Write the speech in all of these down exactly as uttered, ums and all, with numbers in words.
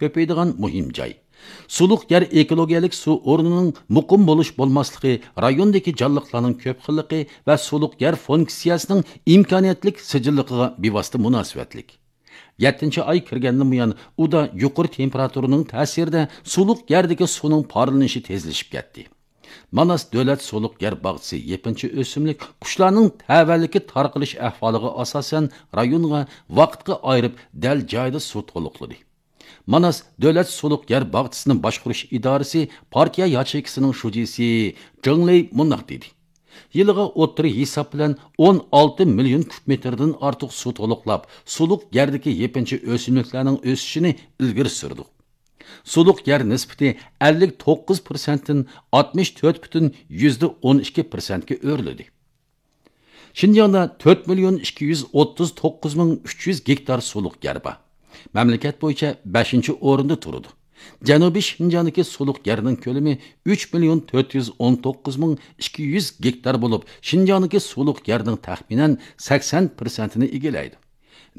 كۆپىيىدىغان مۇھىم جاي. سۇلۇق يەر ئېكولوگىيەلىك سۇ ئورنىنىڭ مۇقىم بولۇش بولماسلىقى رايوندىكى جانلىقلارنىڭ كۆپ خىللىقى ۋە سۇلۇق يەر فۇنكسىيەسىنىڭ ئىمكانىيەتلىك سىجىللىقىغا بىۋاسىتە مۇناسىۋەتلىك. يەتتىنچى ئاي كىرگەندىن بۇيان ئۇدا يۇقىرى تېمپېراتۇرىنىڭ تەسىرىدە سۇلۇق يەردىكى سۇنىڭ پارلىنىشى تېزلىشىپ كەتتى. ماناس دۆلەت سۇلۇق يەر باغچىسى يېپىنچا ئۆسۈملۈك قۇشلارنىڭ تەۋەلىكى تارقىلىش ئەھۋالىغا ئاساسەن رايونغا ۋاقىتقا ئايرىپ دەل جايىدا سۇ تولۇقلىدى. ماناس دۆلەت سۇلۇق يەر باغچىسىنى باشقۇرۇش ئىدارىسى پارتىيە ياچېيكىسىنىڭ شۇجىسى جېڭ لېي مۇنداق دېدى: يىلىغا ئوتتۇرا ھېساب بىلەن ئون ئالتە مىليون كۇب مېتىردىن ئارتۇق سۇ تولۇقلاپ، سۇلۇق يەردىكى يېپىنچا ئۆسۈملۈكلەرنىڭ ئۆسۈشىنى ئىلگىرى سۈردۇق. سۇلۇق يەر نىسبىتى ئەللىك توققۇز پىرسەنتتىن ئاتمىش تۆت پۈتۈن يۈزدە ئون ئىككى پىرسەنتكە ئۆرلىدى. شىنجاڭدا تۆت مىليون ئىككى يۈز ئوتتۇز توققۇز مىڭ ئۈچ يۈز گېكتار سۇلۇق يەر بار. مەملىكەت بويىچە بەشىنچى ئورۇندا تۇرىدۇ. جەنۇبىي شىنجاڭدىكى سۇلۇق يەرنىڭ كۆلىمى ئۈچ مىليون تۆت يۈز ئون توققۇز مىڭ ئىككى يۈز گېكتار بولۇپ، شىنجاڭدىكى سۇلۇق يەرنىڭ تەخمىنەن سەكسەن پىرسەنتىنى ئىگىلەيدۇ.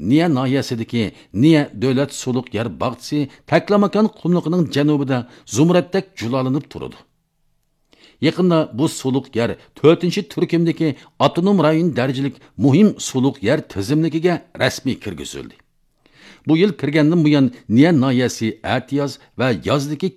نىيە ناھىيەسىدىكى نىيە دۆلەت سۇلۇق يەر باغچىسى تەكلىماكان قۇملۇقىنىڭ جەنۇبىدا زۇمرەتتەك جۇلالىنىپ تۇرىدۇ. يېقىندا بۇ سۇلۇق يەر تۆتىنچى تۈركۈمدىكى ئاپتونوم رايون دەرىجىلىك مۇھىم سۇلۇق يەر تىزىملىكىگە رەسمىي كىرگۈزۈلدى. بۇ يىل كىرگەندىن بۇيان، نىيە ناھىيەسى ئەتىياز ۋە يازدىكى